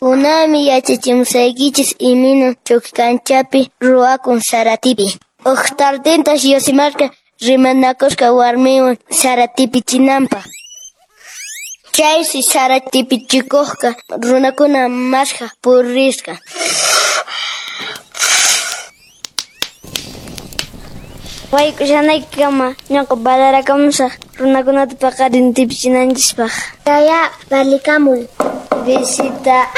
Kunanmi yachachimusaykichis imaynan ch'uqi ruwakun sara tipi. Huk tardintas Yosimarqa rimanakusqa warminwan sara tipichinanpaq. Chaysi sara tipichikuqqa runakuna maskhaq purisqa. Wayk'ushanaykikama ñuqa balarakamusaq runakunata paqarin tipichinanchispaq. Yaya, valikamuy. Visita.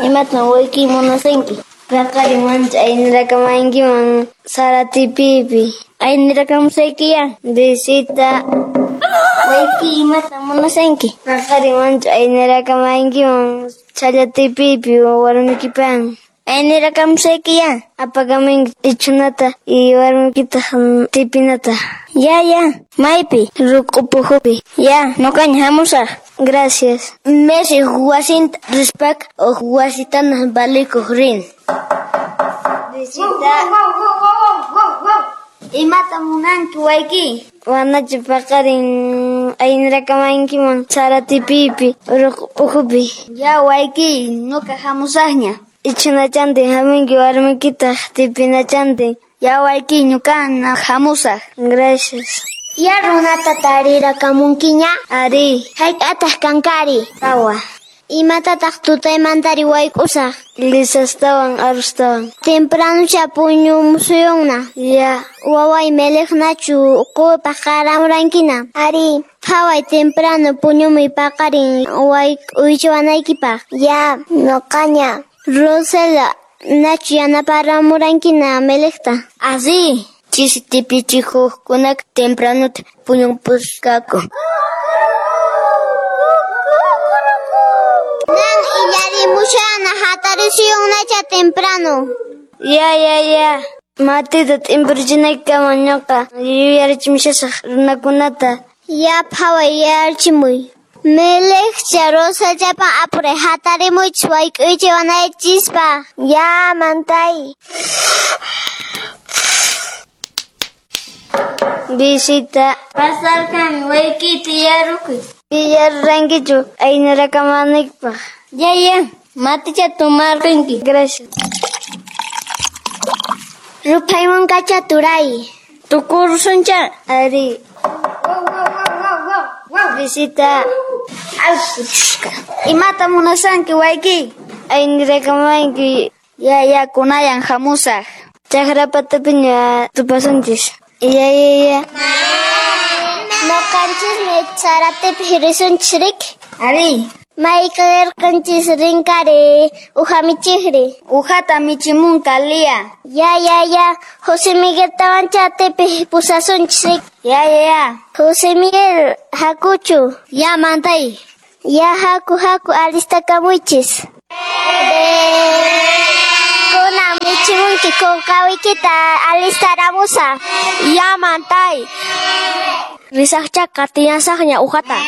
Imatan wayki munasanki? Paqarin mancha aynirakamankiman sara tipipi. Aynirakamusaykiya. Visita. Wayki imatan munasanki? Paqarin mancha aynirakamankiman chhalla tipipi warmikipan. Aynirakamusaykiya. Apakamunki ichhunata y warmikitaq tipinata. Ya, ya. Maypi? Ruk'upuhupi. Ya, nuqaña hamusaq. Gracias. Messi wasinta rispaqa huk wasitana valikuq rin. Visita. Imata munanki wayki? Wanachu paqarin aynirakamankiman sara tipipi ruk'upuhupi. Ya wayki, nuqa hamusaqña. Ichhunachantin hamunki warmikitaq tipinachantin. Ya wayki, ñuqana hamusaq. Gracias. Ya runata tarirakamunkiña? Ari. Hayk'ataq kankari? Tawa. Imatataq tutaymantari wayk'usaq? Lisastawan arrustawan. Tempranucha puñumusuyunna. Ya. Waway meliqnachu quwipaq qaramurankiña? Ari. Phaway temprano puñumuy paqarin wayk'uychiwanaykipaq. Ya, nuqaña. Rosela, nachu yanaparamurankiña meliqta? Así. Chisi tipichikuqkunaqa tempranuta puñupusqaku. Nan illarimushana hatarishuyunnacha temprano. Ya, ya, ya. Matita t'impurchinaykama ñuqa yuyarichimushasaq runakunata. Ya phaway yuyarichimuy. Meliqcha Rosallapan apuray hatarimuychis wayk'uychiwanaykichispaq. Ya, mantay. Visita. Pasarqanmi waykita yarukuy. Yarurankichu aynirakamanykipaq. Ya, ya. Maticha tomarqanki. Gracias. Ruphaymunqacha turay. Tukurusuncha. Ari. Visita. Imata munasanki wayki? Aynirakamanki. Ya, ya, kunayan hamusaq. Chakra patapiña tupasunchis. Ya, ya, ya. Nuqanchismi saratipi risunchis riki. Ari. Mayqirqanchis rinkari uha michiqri. Uhata michimunqa Lia. Ya, ya, ya. José Migueltawancha tipi pusasunchis riki. Ya, ya, ya. José Miguel, hakuchu. Ya, mantay. Ya, haku, haku, alistakamuychis. Kunan michimunki kunkawikita alistaramusaq. Ya, mantay. Risaqcha qatiyasaqña uhata.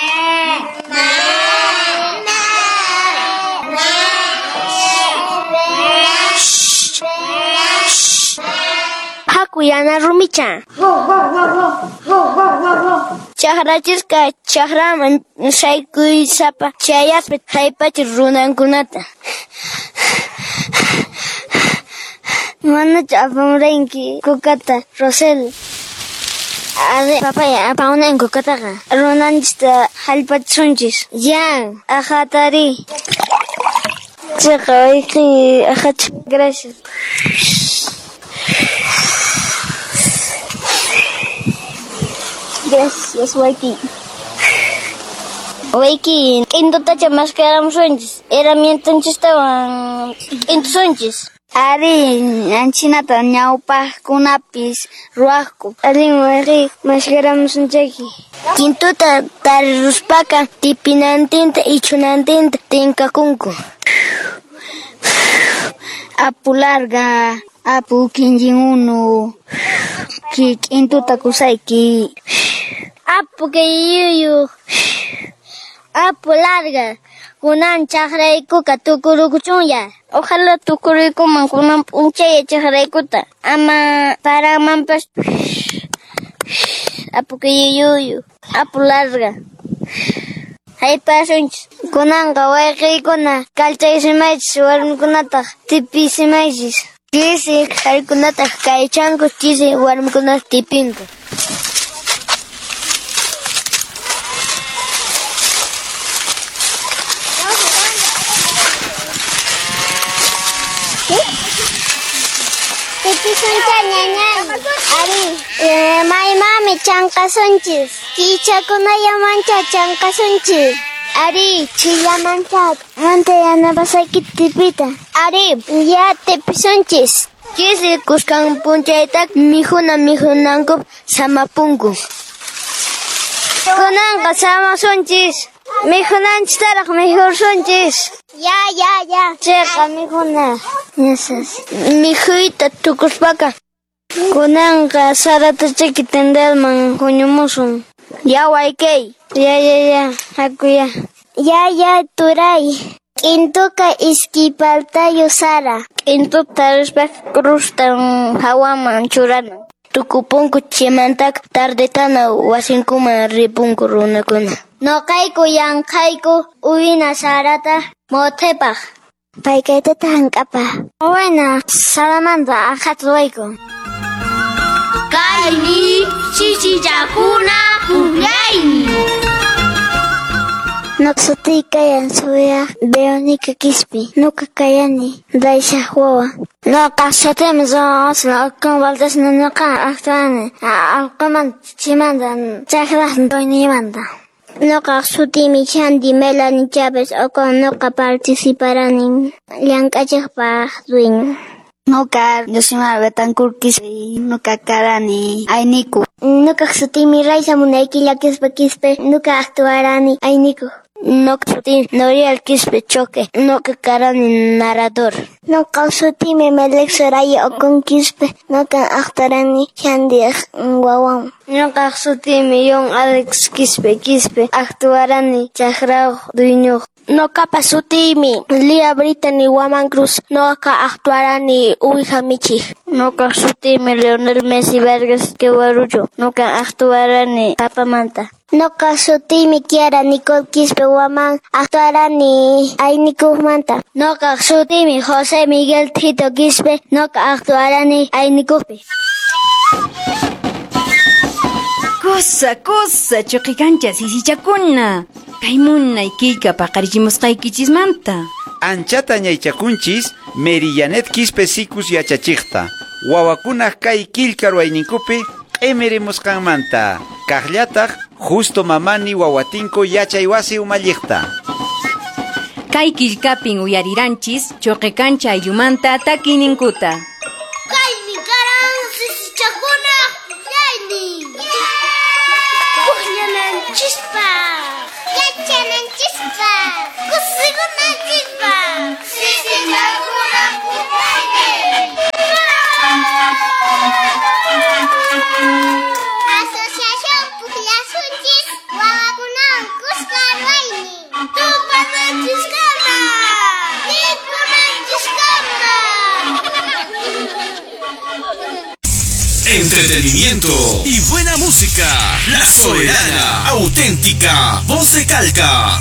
Haku yana rumicha. Chakrachisqa chakraman saykuysapa chayaspa haypachi runankunata. Manachu apamuranki kukata, Rosel? Ari, papaya apamunan kukataqa. Runanchista hallp'achisunchis. Ya. Aqhatari. Chiqa wayqi aqhacha. Gracias. Gracias, wayki. Wayki, k'intutacha maskaramusunchis. Herramientanchistawan k'intusunchis. Ari, anchinata ñawpaqkunapis ruwaqku. Allin wayqi maskaramusunchayki. Kintuta tariruspaqa tipinantinta ichhunantinta tinkakunku. Apu larga, apu kinllin unu, k'intuta kusayki. Apu kayuyu, apu larga, kunan chakraykuqa tukurukuchunya. Ojalá tukuruykuman kunan p'unchaya chakraykuta. Ama paramanpas. Apu kayuyu, apu larga. Haypasunchis. Kunanqa wayqiykuna kallchaysimaychis warmikunataq tipisimaychis. Chisi qharikunataq kaychanku, chisi warmikunataq tipinku. Tipisuncha ñañay. Ari, maymami chanqasunchis. Kichakunallamancha chanqasunchis. Ari, chillamancha manta yanapasayki tipita. Ari, ya tipisunchis. Chisi kuskan punchayta mikhuna mikhunanku samapunku. Kunanqa samasunchis. Mikhunanchistaraq mikhursunchis. Ya, ya, ya. Chayqa mikhuna. Mikhuyta tukuspaqa. Kunanqa sarata chaki tendelman huñumusun. Ya waykay. Ya, ya, ya. Haku ya. Ya, ya, turay. K'intuqa iskay paltayu sara. K'intuta tarispa cruztan hawaman churana. Tukupunku chaymantaqa tardetana wasinkuman ripunku runakuna. Noqayku yanqayku uwina sarata mothepaq. Paykaytata hank'apa. Wayna saramanta aqhata ruwayku. Kaymi sisichakuna pukllaymi. Noqa sutiy kayan Zoea Veronica Quispe. Noqa kayani Daisha wawa. Noqa sutiymi Zoa Ocon Valdez. Noqa actuani allqumanta chimanta chakraq dueñoymanta. Noqa sutiymi Shandy Melanie Chávez Ocon. Noqa participarani llank'achiqpaq dueño. Noqa Yosimar Betancourt Quispe. Noqa karani Ayniku. Noqa sutiymi Raiza Munayquilla Quispe Quispe. Noqa actuarani Ayniku. Noqa sutiymi Noriel Quispe Choque. Noqa karani narrador. Noqa sutiymi Melek Soraya Ocon Quispe. Noqa actuarani Shandy wawan. Noqa sutiymi Yon Alex Quispe Quispe. Actuarani chakrayuq dueño. Noqapa sutiymi Lía Brittany Waman Cruz. Noqa actuarani uwiha michiq. Noqa sutiymi Leonel Messi Vargas Quevarucho. Noqa actuarani papamanta. Noqa sutiymi Kiara Nicole Quispe Waman. Actuarani aynikujmanta. Noqa sutiymi José Miguel Tito Quispe. Noqa actuarani aynikujpi. Kusa, kusa, chuqikancha sisichakuna. Kay munay killka paqarichimusqaykichismanta. Anchata ñaychakunchis Merillanet Quispe Sikus yachachiqta. Wawakunaq kay killka ruwayninkupi q'imirimusqanmanta. Kaqllataq Justo Mamani wawatinko yachay wasi umalliqta. Kay killkapin uyariranchis chuqikancha ayllumanta takiyninkuta. Kaymi karan sisichakuna pukllaynin. Pukllananchispaq, yachananchispaq, kusikunanchispaq. Sisichakuna pukllaynin. Asociación Pukllasunchis wawakunawan kuska ruwaynin. Tupananchiskama, tipunanchiskama. Entretenimiento y buena música. La Soberana, auténtica, voz de Calca.